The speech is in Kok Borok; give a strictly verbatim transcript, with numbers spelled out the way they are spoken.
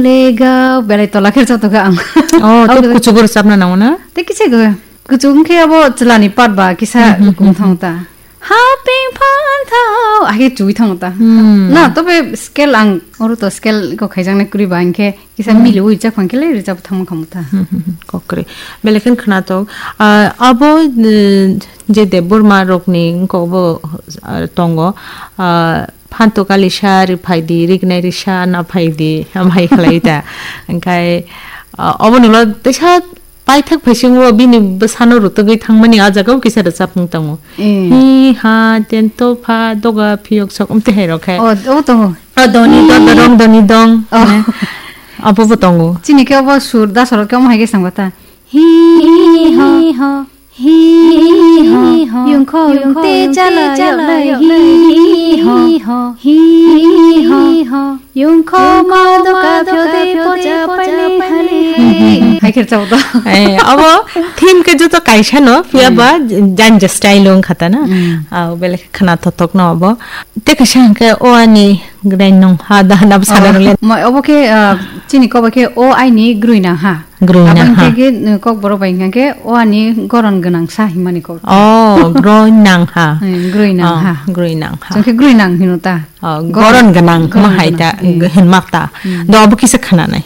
Lega belai tola khe joto khe ang. Oh, to kuchugo rwchapna nango na? Te kisa go. Kuchuk wngkhe abo chwlani part ba kisa Hmm, hmm, hukum hmm, thang ta. Ha ping phan thao. Age chui thang ta. Hmm. Na, tobe scale ang oro to scale ko khaijaknai kwrwi ba hinkhe kisa Hmm. mili ui chak phang khe le rwchap thang kham ta. Hmm, hmm, hmm. Kokre. Belai khe khna to. Ah, abo, eh, je Debbarma rokni wngkok bo, ah, tongo. Ah, phanto kalisa ri phaidi, rignai risa na phaidi, amhai khlai ta. Hingkhai, ah, obo nulo teisa paithak phaisingo bini bwsano rutugwi thangmani ah jagao kisa rwchapmung tongo. Eh. Hi ha, tento pha, doga phiyok sok, umte hai rok hai. Oh, oh, tongo. Oh, doni dong, dorong doni dong. Oh. Ne? Abo bo tongo. Chini khe obo sur da sorok khe omo hai khe sangba ta. Hi ho, hi ho, yungkho yungte chala yoknai. Hi ho, hi ho, yungkho ma doka phiyode pocha painai hali. Hai khe rwchapmung to. Eh, abo theme khe joto kaisa no, phiya ba janja style wng kha ta na. Hmm. Ah, belai khna thothok no abo. Te kaisa hwnkhe o ani gwnai nong ha da na bwsano rwle. Mo-, obo khe, ah, chini kobo khe o aini groi nang ha. Groi nang ha. Aboni khe, uh, kokborok bai hwnkha khe o ani goron gwnang sa hinmani kok. Oh, groi nang ha. Eh, groi nang ha. Oh, groi nang ha. Chwng khe groi nang hino ta. Oh, goron gwnang hwnma hai ta, eh, hwnma ta. Hmm. Do abo kisa khna nai.